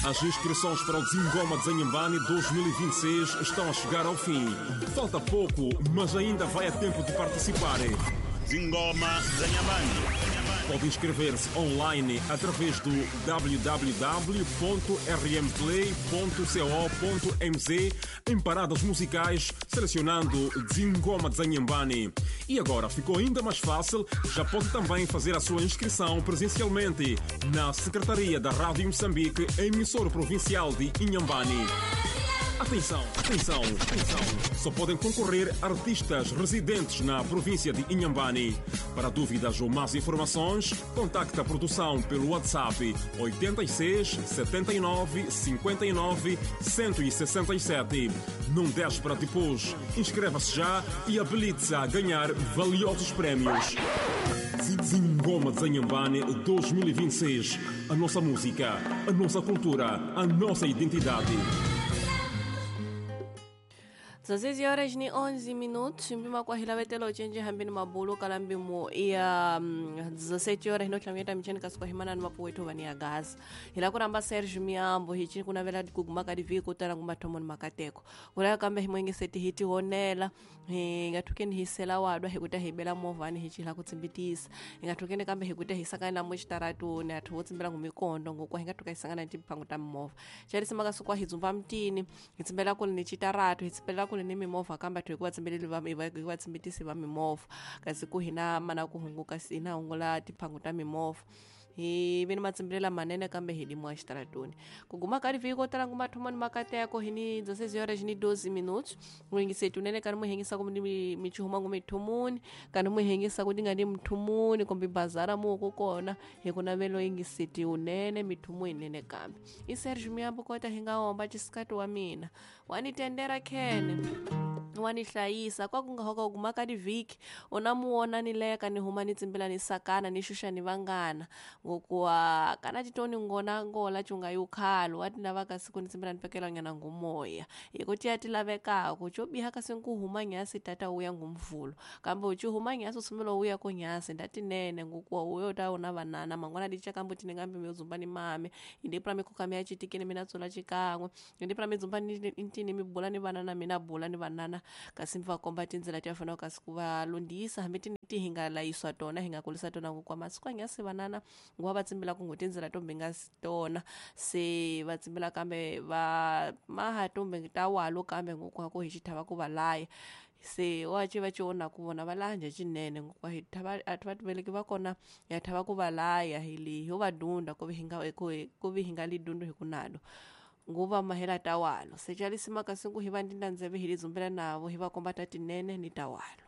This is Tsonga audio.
As inscrições para o Zingoma de Inhambane 2026 estão a chegar ao fim. Falta pouco, mas ainda vai a tempo de participar. Zingoma Zanyambani. Pode inscrever-se online através do www.rmplay.co.mz em paradas musicais, selecionando Zingoma de Inhambane. E agora ficou ainda mais fácil, já pode também fazer a sua inscrição presencialmente na Secretaria da Rádio Moçambique, emissora provincial de Inhambane. Atenção, atenção, atenção! Só podem concorrer artistas residentes na província de Inhambane. Para dúvidas ou mais informações, contacte a produção pelo WhatsApp 86 79 59 167. Não deixe para depois. Inscreva-se já e habilite-se a ganhar valiosos prémios. Zingoma de Inhambane 2026. A nossa música, a nossa cultura, a nossa identidade. 16 horas ni 11 minutos mpima kwa hilavetela ochenji hambini mabulu kalambimo iya 17 horas inotlangeta micheni kasi kwa himana ni mapuwetu vani ya gaza hila kuramba Sergio Miambo hichi kunavela kuguma kadivi kutala ngumathomo ni makateko kulaya kambe himwengeseti hiti honela hingathukeni hisela wadwa hikuta hibela movani hichi hila kutsimbitisa hingathukeni kambe hikuta hisakana na mwixitaratuni athu votsimbela ngumikondo ngokwa hingathuka hisangana ni tiphangu ta mimovha xalisima kasi kwa hidzumba mtini hitsimbela kuli ni citaratu hitsimbela kuli ni mimovha kambe athu hikuva tsimbeleli va hikuva tsimbitisi va mimovha kasi ku hina mana ku hunguka hina hungula tiphangu ta mimovha hi vi ni matsimbelela manene kambe hi limiwa xitaratuni kuguma ka livhiki ko tala ngumathomo ni makateko hi ni 16 horas ni 12 minutos muhingiseti unene kani muhengisa ku ni michihuma ngu mithumuni kani muhengisa ku ti nga ni mithumuni kumbe bazara muku kona hi ku navelo yingiseti unene mithumu yinene kambe i Sergio Miambo kota hi nga homba xisikati wa mina wa ni tendera khene wa ni hlayisa kwa ku nga hoka guma ka divhiki una muona ni leka ni huma ni tsimbela ni sakana ni xuxa ni vangana ngokuwa kana titoni ngona ngola chunga yukhalo wa ti lava kasi ku ni tsimbela ni pekela nyana ngumoya hi ku tiya ti lavekako xo biha kasi ku huma nyasi tata wuya ngumvulo kambe uchi huma nyasi usumelo wuya ko nyasi ndatinene ngokuwa uyo ta una vanana mangwana dicha kambe tine ngambe miudzumba ni mame indipura mikhuka miya chitikini mina tsola chikan'we indipura midzumba ni ntini mi bula ni vanana mina bula ni vanana kasi va komba tindzela ti fanaka kasi ku va lunghisa hambi ti hi nga layiswa tona hi nga kulisa tona ku kwa masiku anyasi vanana nguva va tsimbela ku ngo tindzela tombe nga tona se va tsimbela kambe va maha tombe ta walo kambe ngokwa ku hi xithava ku va laya se wa ci va ci ona ku vona va laya cinene ngokwa hi thava a va veleki va kona ya thava ku va laya hi li ho va dunda ku vi hi nga ku vi hi nga li dundu hi ku nalo nguva mahela tawalo secalisima kasi ku hi va ndinda ndzeve hi lidzumbela navo hi va komba ta tinene ni tawalo.